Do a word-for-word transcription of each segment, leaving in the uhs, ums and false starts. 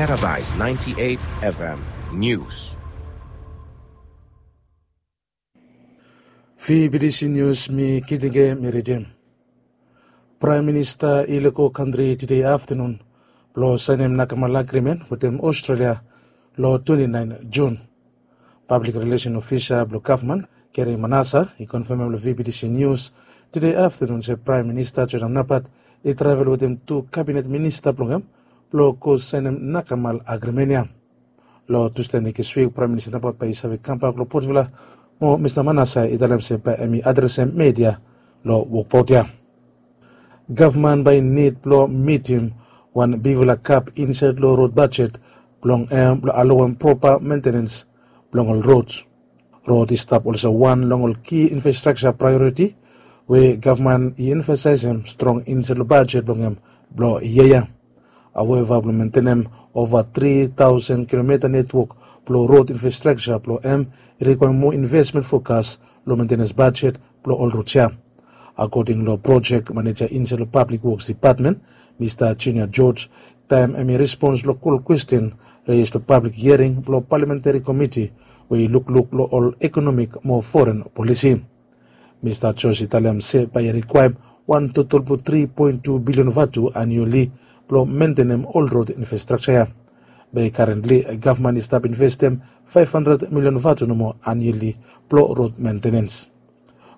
Paradise ninety-eight F M News. Fibidisi Nius mi Kitinge mi ridim. Praem Minista i lego kantri tede aftanun blong saenem nakamal agrimen wetem Australia long twenty-nine Jun. Pablik Rilesen Ofisa blong gavman Gary Manassa i konfamem long V B T C Nius tede aftanun se Praem Minista Joram Napat i travel wetem tu kabinet minista blong hem blong go saenem nakamal agrimen ya. Long Tusde nekswik Praem Minista Napat bae i save kambak long Port Vila mo Mista Manassa i talem se bae hem i adresem media long wokbaot ya. Gavman bae i nid blong mitim wan bigfala gap insaed long rod bajet blong hem blong alowem propa mentenens blong ol rod. Rod i stap olsem wan long ol ki infrastrakja praeoriti we gavman i emfasaesem strong insaed long bajet blong hem blong yia ya. Haueva blong mentenem ova tri taosen kilomita netwok blong rod infrastrakja blong hem i rikwaem moa invesmen fokas long mentenens bajet blong ol rod ya. Akoding long projek maneja insaed long Pablik Woks Depatmen, Mista Junior George, taem hem i respons long kol kwesten reis long pablik hiering blong palamentari komiti we i lukluk long ol ekonomik mo foren polisi. Mista George i talem se bae i rikwaem wan total blong tri poen tu bilion vatu anioli blong mentenem ol rod infrastrakja ya. Be karentli gavman i stap investem faef handred milion vatu nomo anioli blong rod mentenens.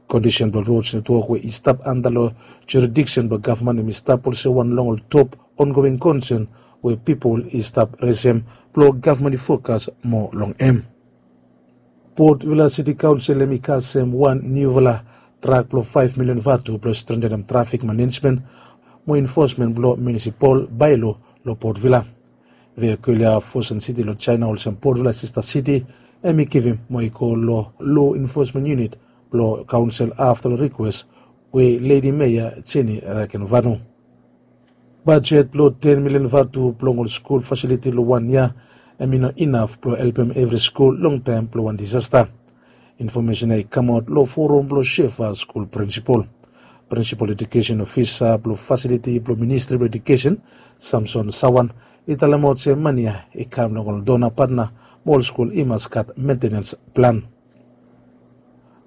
Kondisen blong rod netwok we i stap anda long juridiksen blong gavman hem i stap olsem wan long ol top ongoing konsen we pipol i stap resem blong gavman i fokas moa long hem. Port Vila Siti Kaonsel hem i kasem wan niufala drak blong faef milion vatu blong strentenem trafik manejmen mo enfosmen blong munisipal baelo long Port Vila. Vehikel ya Fosun Siti long Jaena olsem Port Vila sista siti hem i givim mo i go long lo enfosmen yunit blong kaonsel afta long rikwes we Ledi Meya Jenny Rakenvanu. Bajet blong ten milion vatu blong ol skul fasiliti long wan yia hem i no inaf blong helpem evri skul long taem blong wan disasta. Infomesen ya i kamaot long forum blong Shefa skul prinsipol. Prinsipol edukesen ofisa blong fasiliti blong ministri blong edukesen, Samson Sawan, i talemaot se mane ya i kam long ol dona patna mo ol skul i mas gat mentenens plan.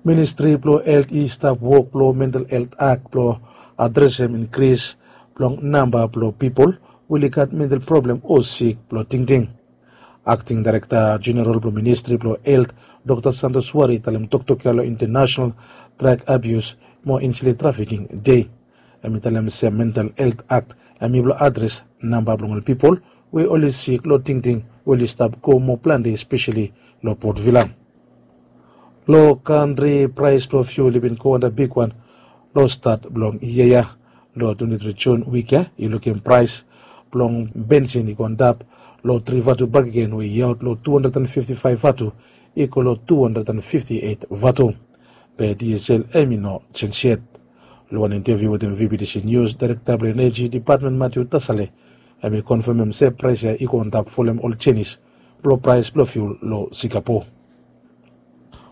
Ministri blong helt i stap wok blong mental helt akt blong adresem inkris blong namba blong pipol we oli gat mental problem o sik blong tingting. Akting daerekta jeneral blong ministri blong helt, Dokta Santos Wari i talem toktok ya long Internasenal Drag Abius mo Ensli Trafiking Dei. Hem i talem se mental helt akt hem i blong adres namba blong ol pipol we oli sik long tingting we oli stap go moa plante espeseli long Port Vila. Long kantri praes blong fiul i bin go antap bigwan long stat blong yia ya. Long twenti tri Jun wik ya i lukim praes blong bensin i go antap long tri vatu bakegen we i aot long tu handred an fifti faef vatu i go long tu handred an fifti eit vatu. Be diesel hem i no jenj yet. Long wan inteviu wetem V B T C Nius, daerekta blong eneji depatmen Matiu Tasale hem i konfamem se praes ya i go antap folem ol jenis blong praes blong fiul long Singapore.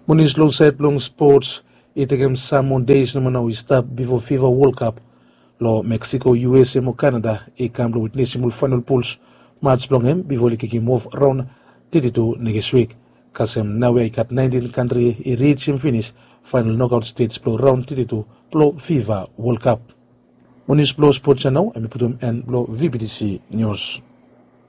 Munis long saed blong spots, i tekem sam moa deis nomo nao i stap bifo fifa wolkap long Meksiko, U S A mo Kanada i kam blong witnesem ol faenol puls mats blong hem bifo oli kikim of raon teti tu nekswik. Kasem naoia i gat naentin kantri i rijim finis faenol nokaot stej blong raon teti tu blong fifa wolkap. Mo nius blong spots ya nao hem i putum en blong V B T C Nius.